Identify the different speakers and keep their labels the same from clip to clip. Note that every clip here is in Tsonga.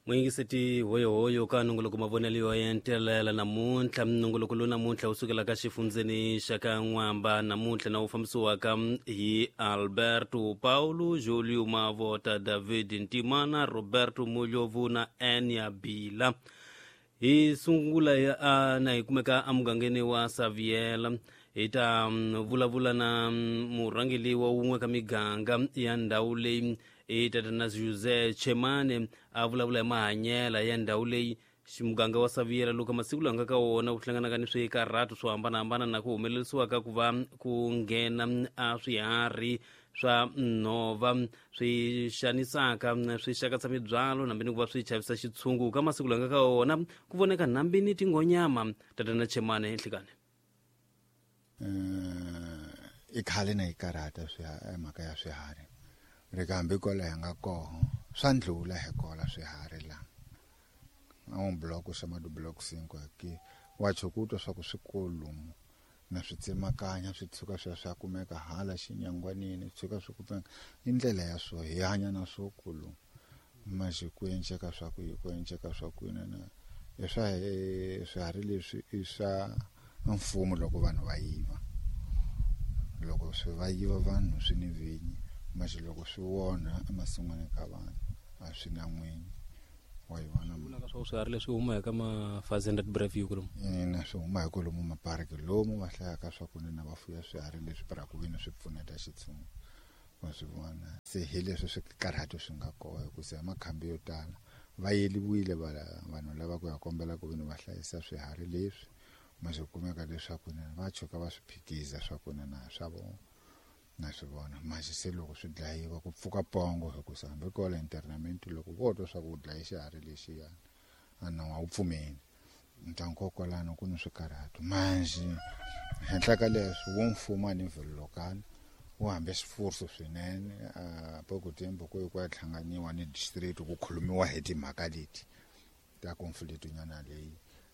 Speaker 1: Muyingiseti hoyohoyo ka nongoloko mavonelo yo entelela namuntlha. Nongoloko lowu namuntlha wu sukela ka xifundzeni xa ka N'wamba namuntlha na wu fambisiwaka hi Alberto Paulo, Julio Mavota, David Ntimana, Roberto Mulyovu na Enya Bila. Hi sungula na hi kumeka emugangeni wa Saviela. Hi ta vulavula na murhangeri wa wun'we ka miganga ya ndhawu leyi, i tatana Jose Chemane, a vulavula hi mahanyela ya ndhawu leyi. Muganga wa Saviela loko masiku lawa nga ka wona wu hlanganaka ni swikarhato swo hambanahambana na ku humelerisiwa ka ku va ku nghena a swiharhi swa nhova swi xanisaka, swi xakatsa mibyalo nambi ni ku va swi chavisa xitshungu. Ka masiku lawa nga ka wona ku voneka nambi ni tinghonyama. Tatana Chemane, nhlikani.
Speaker 2: I khale na yi karhata mhaka ya swiharhi ri ka hambi kwala hi nga koho swa ndlula hi kola swiharhi la a un bloco chamado Bloco 5 aqui wa tshukuta swa ku swikolomu na swi tsemakanya swi tshuka swi ya swi ya kumeka hala xinyangwanini swi tshuka swi kumeka i ndlela ya swo hi hanya na swo kulu manje ku enceka swa ku ku enceka swa ku na i swa swiharhi leswi i swa mfumo loko vanhu va yiva loko swi va yiva vanhu swi ni vinyi manje loko swi wona emasin'wini ka vanhu a swi na n'winyi wa yi vona.
Speaker 1: Vulaka swa swiharhi leswi huma eka ma-Fazendad Breview kulomu?
Speaker 2: Ina, swi huma hi kwalomu mapariki lomu va hlayaka swa ku na va fuya swiharhi leswi para ku veni swi pfuneta xitshungu wa swi vona. Se hi leswi swikarhato swi nga kona hikusa hi makhambi yo tala va yeliwile vanhu lava ku ya kombela ku veni va hlayisa swiharhi leswi ma swi kumeka leswaku na va tshuka va swi phikiza swa ku na swa vona na swi vona. Manje se loko swi dlayiwa ku pfuka pongo hikusa hambi kwala internament loko vo twa swa ku u dlaye xiharhi lexiyana a na wa wu pfumeli ntankokwalano ku ni swikarhato. Manje henhla ka leswo wo mfumo a nivel local wu hambe swifuso swinene a pouco tempo ku ku ya hlanganiwa ni district ku khulumiwa hi timhaka leti ta conflict nyana leyi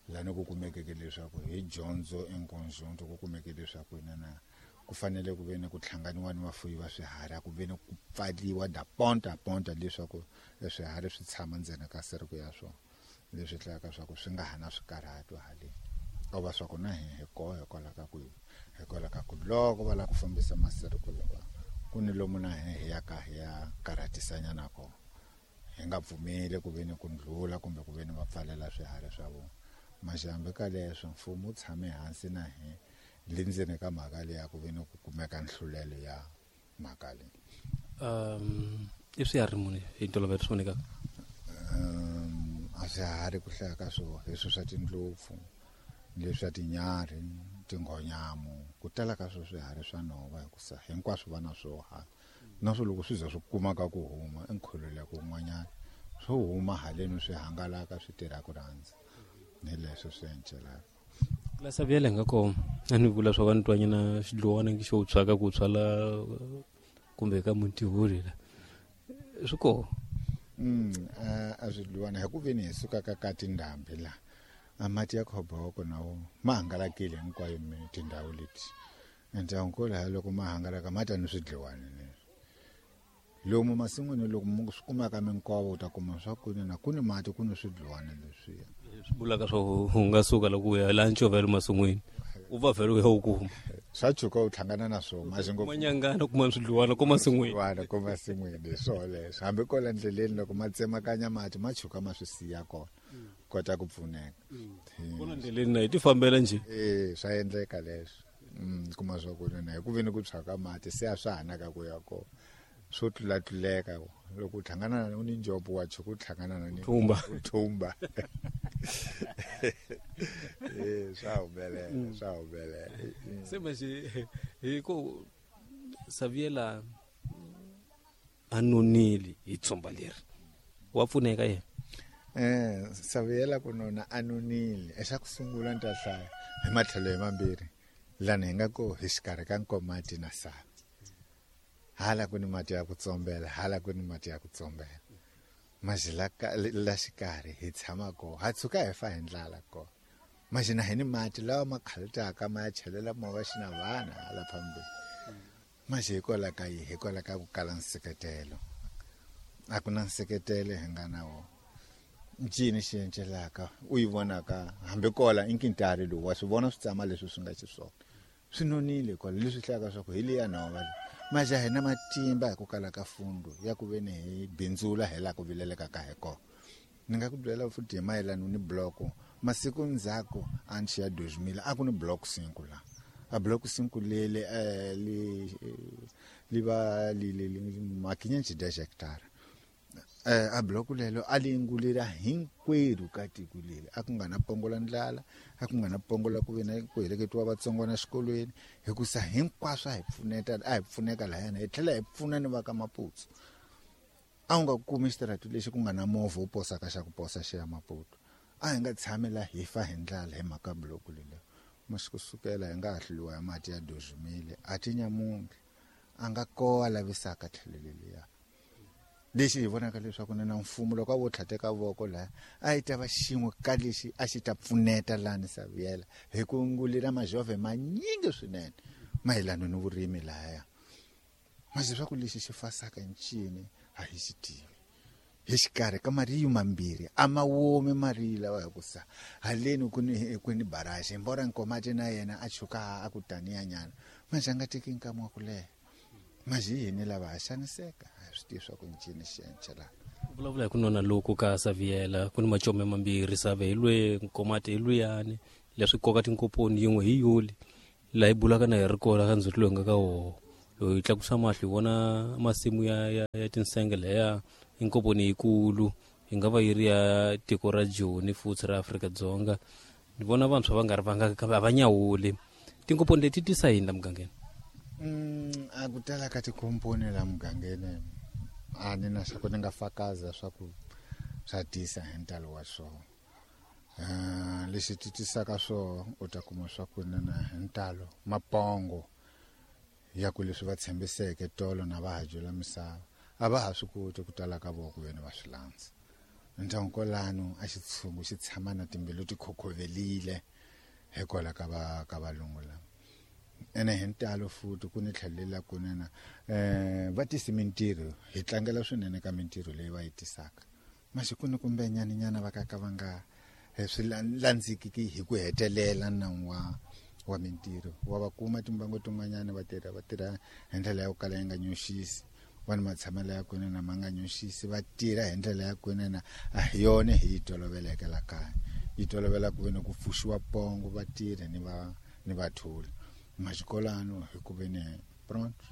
Speaker 2: lani ku kumekeke leswaku hi dyondzo en conjunto ku kumeke leswaku na ku fanele ku ve ni ku hlanganiwa ni vafuyi va swiharhi a ku ve ni ku pfaliwa da ponta ponta leswaku swiharhi swi tshama ndzeni ka seriko ya swona leswi hlayaka swa ku swi nga ha na swikarhato haleni o va swa ku na hi koho hikwalaho ka ku loko va lava ku fambisa maseriko lawa ku ni lomu na hi ya ka hi ya karhatisanyana kona hi nga pfumeli ku ve ni ku ndlula kumbe ku ve ni va pfalela swiharhi swa vona. Manje hambi ka leswo mfumo wu tshame hansi na hi le ndzeni ka mhaka leyi ya ku ve ni ku kumeka nhlulelo ya mhaka leyi.
Speaker 1: I swiharhi muni hi ntolovelo swi vonekaka?
Speaker 2: A swiharhi ku hlaya ka swona hi swo swa tindlopfu leswi swa tinyarhi tinghonyamu ku tala ka swo swiharhi swa nhova hikusa hinkwaswo va na swo hala na swo loko swi za swi kumaka ku huma i nkhululeko wun'wanyana swo huma haleni swi hangalaka swi tirha ku rhandza ni leswo swi encelaka.
Speaker 1: La Saviela nga kona a ni vula swa va ni twanyana xidluwana xo tshwaka ku tshwa la kumbe ka muntihuri la swi kona.
Speaker 2: A swidluwana hi ku veni hi suka ka tindhambi la a mati ya khoboko na wo ma hangalakile hinkwayo tindhawu leti ndyangu laha loko ma hangalaka ma ta ni swidliwani leswi lomu masin'wini loko mu swi kumaka minkova u ta kuma swa ku na ku ni mati ku ni swidliwani leswiya
Speaker 1: swi vulaka swa u nga suka loko u ya laha ncovelo masin'wini u va vhele u ya u kuma
Speaker 2: swa tshuka u hlangana na swona masi ngopfu
Speaker 1: manyangana kuma swidliwana ko masin'wini
Speaker 2: wana ko masin'wini hi swoho leswo hambi kwala ndleleni loko ma tsemakanya mati ma tshuka ma swi siya kona kota ku pfuneka
Speaker 1: kona ndleleni na hi ti fambela njhe.
Speaker 2: Swa endleka leswo kuma swa ku na hi ku veni ku tshwaka mati se a swa hanaka ku ya kona swo tlulatluleka loko u hlangana na ni njopo wa tshuka u hlangana na ni
Speaker 1: thumba
Speaker 2: thumba swa humelela swa humelela.
Speaker 1: Se manje hi ku Saviela a nonile hi tshomba leri wa pfuneka yena.
Speaker 2: Saviela ku nona a nonile exa ku sungula ni ta hlaya hi matlhelo hi mambirhi lani hi nga ko hi xikarhi ka Nkomati na Savi hala ku ni mati ya ku tsombela hala ku ni mati ya ku tsombela manje la xikarhi hi tshama kona ha tshuka hi fa hi ndlala kona manje na hi ni mati lawa ma khalutaka ma ya chelela movha xi na vana hala phambili manje hikwalaho ka yi hikwalaho ka ku kala nseketelo a ku na nseketelo hi nga na wona. Ncini xi encelaka u yi vonaka hambi kola i nkintari lowu wa swi vona switsama leswi swi nga xiswona swi nonile kwala leswi hlayaka swa ku hi liya nhova maja hi na matimba hi ku kala ka fundo ya ku veni hi bindzula hi laha ku vileleka ka hi kona. Ni nga ku byela futhi hi mayelana ni bloko masiku ndzhaku a ni xiya 2000 a ku ni block 5 la a block 5 lele li va li li makinya nchi 10 hectare a block lelo a li ngulira hinkwerhu ka tiko leri a ku nga na pongo la ndlala a ku nga na pongo la ku ve na ku heleketiwa vatsongwana exikolweni hikusa hinkwaswo a hi pfuneta a hi pfuneka lahayana hi tlhela hi pfuna ni va ka Maputsu. A wu nga kumi xitaratu lexi ku nga na movha wu posaka xa ku posa xi ya Maputo. A hi nga tshami la hi fa hi ndlala hi mhaka block lelo masi kusukela hi nga ha hluriwa hi mati ya 2000 a ti nyamuntlha a nga kowa lavisaka tlhelo leliya. Lexi hi vonaka leswaku na mfumo loko a vo tlhateka voko laha a yi ta va xin'we ka lexi a xi ta pfuneta lani Saviela hi ku ngulira majove manyingi swinene mayelana ni vurimi lahaya. Masi swa ku lexi xi fasaka ncini a hi xi tivi. Hi xikarhi ka mariyu mambirhi a ma womi mariyu lawa hikusa haleni ku ni barrage mbora Nkomati na yena a chuka a ku taniyanyana manje a nga teki nkama wa ku leha. Manje yini lava ha xaniseka a swi tivi swa ku ncini xi encela.
Speaker 1: Vulavula hi ku nona loku ka Saviela ku ni macome mambirhi Save hi lwe Nkomati hi luyani leswi koka tinkoponi yin'we hi yuli laha hi bulaka na hi ri kona ka ndzhuti loyi nga ka woho loyi tlakusa mahlo hi vona masimu ya tinsenge leya inkoponi yikulu yi nga va yi ri ya tiko ra Joni futhi ra Afrika-Dzonga. Ni vona vantshwa va nga ri vanga kambe a va nyawuli tinkoponi leti tisa yini la mugangeni?
Speaker 2: A ku tala ka tikomponi la mugangeni a ni na swa ku ni nga fakaza swa ku swa tisa hi ntalo wa swona. Lexi ti tisaka swona u ta kuma swa ku na hi ntalo mapongo ya ku leswi va tshembiseke tolo na va ha dyela misava a va ha swi koti ku tala ka vona ku veni va swi landza. Ndyangu kwalano a xitshungu xi tshama na timbilu ti khokhovelile hikwalaho ka va ka valungu lava. Ene hi ntalo futhi ku ni tlhelela kunene va tisi mintirho hi tlangela swinene ka mintirho leyi va yi tisaka. Masi ku ni kumbe nyaninyana va ka va nga swi landzikiki hi ku hetelela nawu wa mintirho. Wa va kuma timbangu tin'wanyana va tirha hi ndlela ya ku kala yi nga nyoxisi, va ni matshamelo ya kunene ma nga nyoxisi, va tirha hi ndlela ya kunene a hi yona hi yi toloveleke la kaya. Yi tolovela ku ve ni ku pfuxiwa pongo va tirha ni vatholi. Maxikolano hi ku ve ni pronto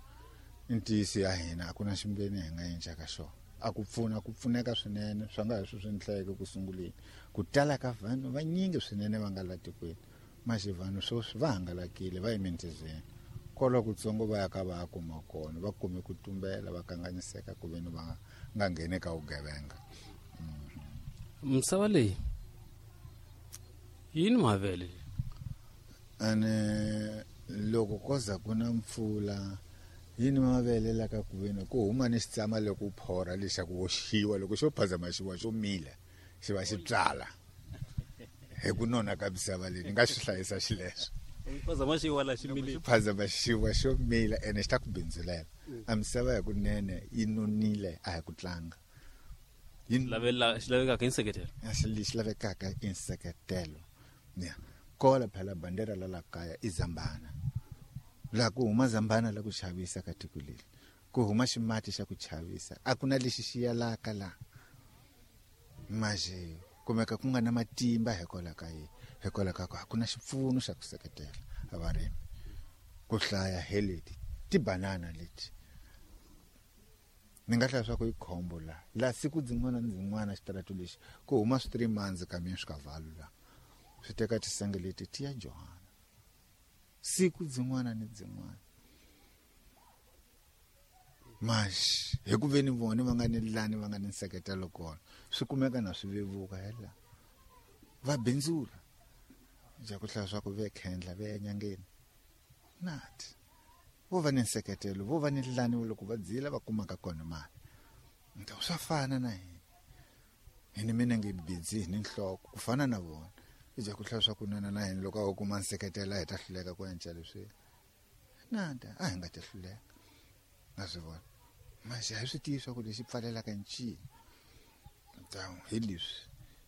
Speaker 2: i ntiyiso ya hina a ku na ximbeni hi nga encaka xona. A ku pfuna ku pfuneka swinene swa nga hi swi ndleke ku sunguleni ku tala ka vanhu vanyingi swinene va nga la tikweni. Manje vanhu sweswi va hangalakile va emintizeni kwala kutsongo va ya ka va kuma kona va kume ku tumbela va kanganyiseka ku veni va nga ngheni ka vugevenga.
Speaker 1: Misava leyi yini mavele
Speaker 2: ene loko koza ku na mpfula yini mavele la ka ku veni ku huma ni xitsama loko u phora lexa ku oxiwa loko xo phazama xiwa xo mila xi va xi tswala hi ku nona ka misava leyi ni nga swi hlayisa xileswo.
Speaker 1: Phazama xiwa la xi mile
Speaker 2: phazama xiwa xo mila ene xi ta ku bindzulela. A misava ya kunene yi nonile a hi ku tlanga.
Speaker 1: Xi lavekaka i nseketelo.
Speaker 2: Lexi lavekaka i nseketelo. Ya kola phela bandera la la kaya i zambana. La ku huma zambana la ku chavisa ka tiko leri. Ku huma ximati xa ku chavisa. A ku na lexi xi yalaka la. Manje kumeka ku nga na matimba hikwalaho ka yini? Hikwalaho ka ku a ku na xipfuno xa ku seketela varimi. Ku hlaya hi leti tibanana leti. Ni nga hlaya swa ku i khombo la. La siku dzin'wana ni dzin'wana xitaratu lexi ku huma swi 3 months ka mina swi ka valu la. Swi teka tisenge leti ti ya Johanna. Siku dzin'wana ni dzin'wana. Mas hi ku veni vona va nga ni lani va nga ni nseketelo kona swi kumeka na swi vevuka hela. Va bindzula. Ja ku hlaya swa ku ve khendla ve enyangeni. Nati. Vo va ni nseketelo, vo va ni lani loko va dzila va kumaka kona mali. Nto swa fana na hina. Hi ni mina nge bidzi hi ni nhloko ku fana na vona. Ja ku hlaya swa ku nana na hina loko a wu kuma nseketelo hi ta hluleka ku endla leswi. Nada, a hi nga ta hluleka. Nga swi vona. Manje a hi swi tivi swa ku lexi pfalelaka ncini. Ntawu hi leswi.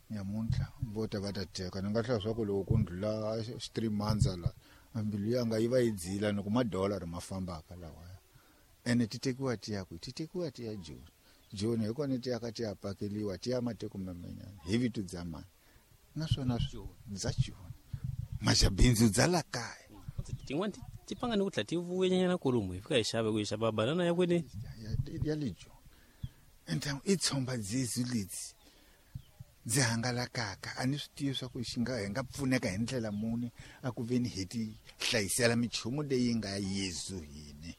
Speaker 2: Nyamuntlha vo ta va ta teka ni nga hlaya swa ku loko ku ndlula 3 months la mbilu yanga yi va yi dzila ni ku madollar ma fambaka lawaya. Ene ti tekiwa ti ya kwihi? Ti tekiwa ti ya Joni. Joni hi kona ti yaka ti ya pakeliwa ti ya matiko man'wanyana hi vito bya mani, naswona bya Joni majabindzu bya la kaya.
Speaker 1: Tin'wani ti pfanga ni ku tlhela ti vuyenyana kolomu hi fika hi xava ku hi xava banana ya kwini
Speaker 2: ya le Joni. Ende i tshomba dzidzi ledzi ndzi hangalakaka a ni swi tivi swa ku xi nga hi nga pfuneka hi ndlela muni a ku veni hi ti hlayisela minchumu leyi nga Yesu hini.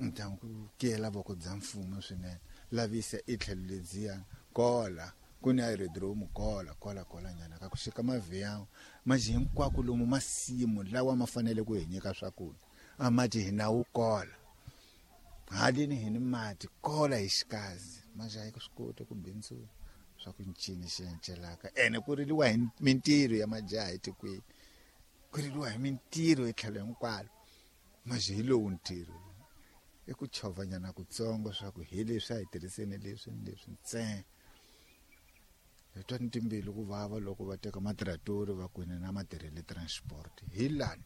Speaker 2: Ntangu kiyela voko bya mfumo swinene lavisa i tlhelo ledziyana kola ku ni aerodrome kola kola kola nyana ka ku xika mavhiyango maji hinkwako lomu masimu lawa ma fanele ku hi nyika swakudya a mati hi nawu kola halini hi ni mati kola hi xikazi maji a yi swi koti ku bindzula swa ku ncini xi encelaka. Ene ku riliwa hi mintirho ya majaha etikweni, ku riliwa hi mintirho etlhelo hinkwalo maji hi lowu ntirho i ku chovanyana kutsongo swa ku hi leswi a hi tirhiseni leswi ni leswi ntsena. Hi twa ni timbilu ku vava loko va teka matiratori va kwini na matirhele transport hi lani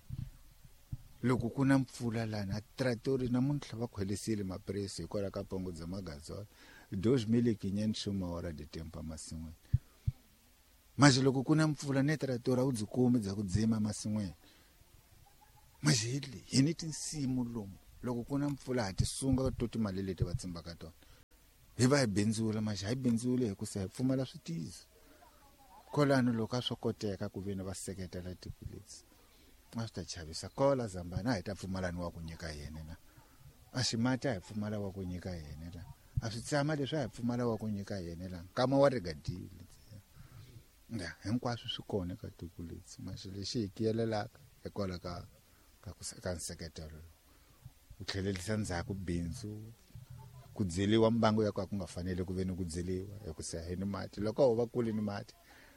Speaker 2: loko ku na mpfula lani a tiratori namuntlha va khwelisile mapresi hikwalaho ka pongo bya magazola 2500 uma hora de tempo emasin'wini. Maji loko ku na mpfula ne tiratori a wu byi kumi bya ku dzima emasin'wini. Maji hi le hi ni tinsimu lomu loko ku na mpfula ha ti sunga to timali leti va tsimbaka tona hi va hi bindzula maji hi bindzule hi ku se hi pfumala switizo. Kolano loko a swo koteka ku veni va seketela tiko leti a swi ta chavisa kola Zambana a hi ta pfumalani wa ku nyika yena na a ximati a hi pfumala wa ku nyika yena la a swi tsama leswi a hi pfumala wa ku nyika yena la nkama wa rigadile nga hinkwaswo swi kona ka tiko leti maji lexi hi kiyelelaka hikwalaho ka nseketelo ku tlhelerisa ndzhaku bindzu ku dzeliwa mbangu ya ku a ku nga fanele ku ve ni ku dzeliwa hi ku se hi ni mati loko ho va kule ni mati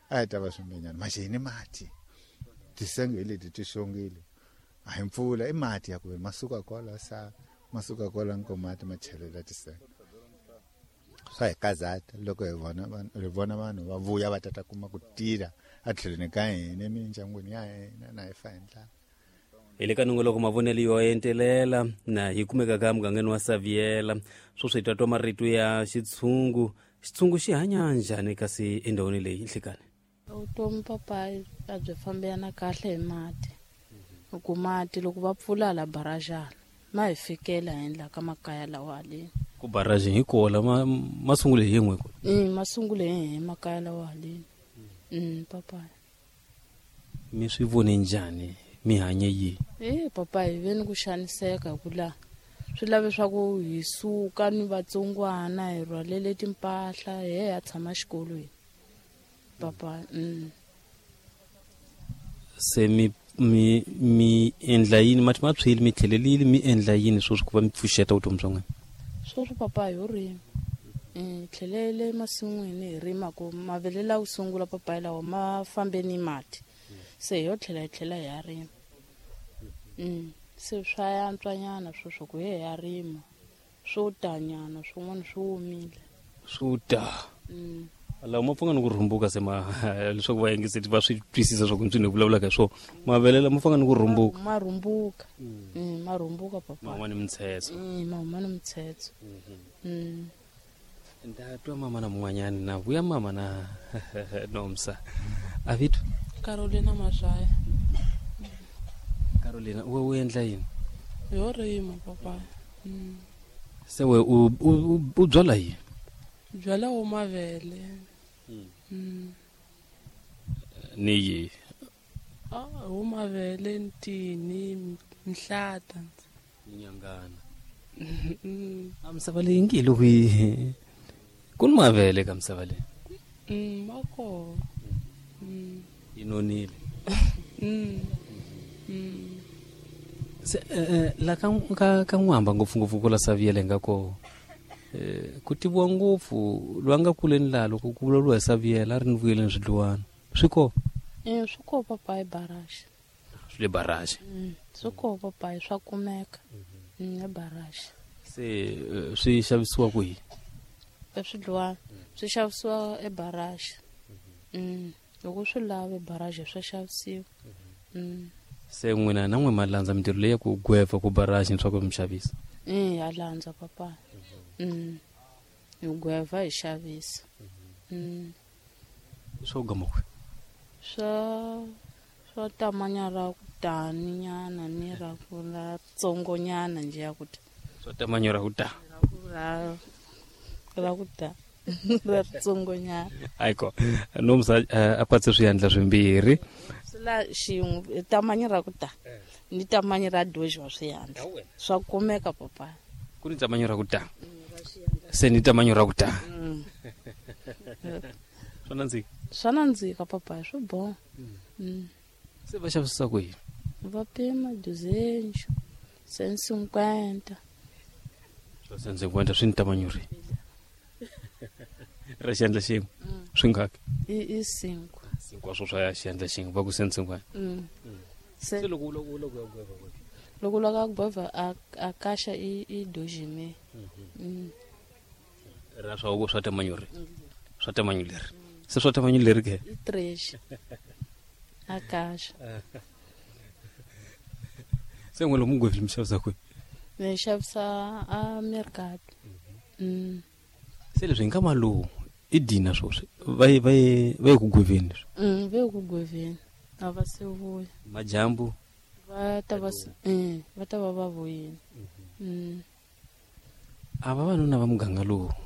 Speaker 2: a hi ta va swimbenyana maji hi ni mati tisenge hi leti ti xongile a hi mpfula i mati ya ku ve masuka kwala sa masuka kwala nkomati ma chelela tisenge swa hi kazata loko hi vona vanhu va vuya va tata kuma ku tirha a tlhelweni ka hina emindyangwini ya hina na hi fa hi ndlala.
Speaker 1: Hi le ka nongoloko mavonelo yo entelela na hi kumeka ka mugangeni wa Saviela. Sweswi hi ta twa marito ya xitshungu. Xitshungu xi hanya njhani kasi endhawini leyi nhlikani?
Speaker 3: Vutomi papa a byi fambelana kahle hi mati. Ku mati loko va pfula la barajana ma hi fikela henhla ka makaya lawa haleni.
Speaker 1: Ku baraji hi kola ma sungule hi yin'we ko?
Speaker 3: Ma sungule hi makaya lawa haleni. Papa.
Speaker 1: Mi swi vone njhani? Mi hanye yi?
Speaker 3: Papa hi veni ku xaniseka ku la swi lave swa ku hi suka ni vatsongwana hi rhwalele timpahla hi ya tshama xikolweni. Papa.
Speaker 1: Se mi endla yini mati ma tshwile mi tlhelelile mi endla yini sweswi ku va mi pfuxeta vutomi bya n'wina?
Speaker 3: Sweswi papa hi rima. Tlhelele masin'wini hi rima ku mavele lawa sungula papa lawa ma fambe ni mati. Se hi yo tlhela hi tlhela hi ya rima. Se swa yantswanyana sweswo ku hi ya rima swo tanyana swin'wana swi omile.
Speaker 1: Swo ta. Lawa ma pfanga ni ku rhumbuka se ma leswaku va yingiseti va swi twisisa swa ku ntswini hi vulavulaka hi swona mavele lama pfanga ni ku rhumbuka.
Speaker 3: Ma rhumbuka. Ma rhumbuka papa.
Speaker 1: Ma huma ni mitshetso.
Speaker 3: Ma huma ni mitshetso.
Speaker 1: Nda twa mama na mun'wanyani na vuya mama na Nomsa. Avito
Speaker 4: Carolina Mazaya.
Speaker 1: Carolina u endla yini?
Speaker 4: Yo rima papa.
Speaker 1: Se we u byala yini?
Speaker 4: Byala wo mavele.
Speaker 1: Ni yi?
Speaker 4: Wo mavele ntini mhlata.
Speaker 1: Nyangana. A misava leyi ngi loko yi ku ni mavele ka misava leyi.
Speaker 4: Ma kona.
Speaker 1: Yi nonile. Se la ka n'wamba ngopfungopfu ku la Saviela nga ko ku tiviwa ngopfu lwa nga kuleni laha loko ku vulavuriwa hi Saviela a ri ni vuyeleni swidluwana swi kona?
Speaker 3: Swi kona papa hi baraji.
Speaker 1: Swi le baraji?
Speaker 3: Swi kona papa swa kumeka ebaraji.
Speaker 1: Se swi xavisiwa kwihi?
Speaker 3: Swidluwana swi xavisiwa ebaraji. Loko swi lave baraji swa xavisiwa.
Speaker 1: Se n'wina na n'we ma landza mintirho leyi ya ku gweva ku baraji swa ku mi xavisa?
Speaker 3: Ya landza papa. Hi gweva hi xavisa.
Speaker 1: Swo gama kwi?
Speaker 3: Swa tamanya ra ku tani nyana ni ra ku la tsongonyana nje ya ku ta.
Speaker 1: Swa tamanya ra ku ta.
Speaker 3: Ra ku ta. Ra tsongonyana.
Speaker 1: Ayiko nomsa a patse swiandla swimbirhi.
Speaker 3: Swi la xin'we tamanyi ra ku ta ni tamanyi ra doji wa swiandla. Swa kumeka papa.
Speaker 1: Ku ni tamanyi ra ku ta. Se ni tamanyi ra ku ta. Swa nandzika.
Speaker 3: Swa nandzika papa, swi boha.
Speaker 1: Se va xavisa ku yini?
Speaker 3: Va pima 200, 150.
Speaker 1: Swa 150 swi ni tamanyi ri. Ra xiandla xin'we. Swi ngaki?
Speaker 3: I 5.
Speaker 1: 5 swo swa xiandla xin'we va ku 150.
Speaker 3: Se
Speaker 1: loko u loko ya gweva ku.
Speaker 3: Loko la ka gweva a kaxa i dojime.
Speaker 1: Ra swa ku swa tamanyi ri. Swa tamanyi leri. Se swa tamanyi leri ke?
Speaker 3: I 3. A kaxa.
Speaker 1: Se n'we lomu gwevile mi xavisa kwihi?
Speaker 3: Mi xavisa a mercado.
Speaker 1: Se leswi hi nkama lowu i dina swoswi va ye ku gweveni leswi.
Speaker 3: Va ye ku gweveni. A va se vuya.
Speaker 1: Majambu.
Speaker 3: Va ta va va ta va va vuyile.
Speaker 1: A vavanuna va muganga lowu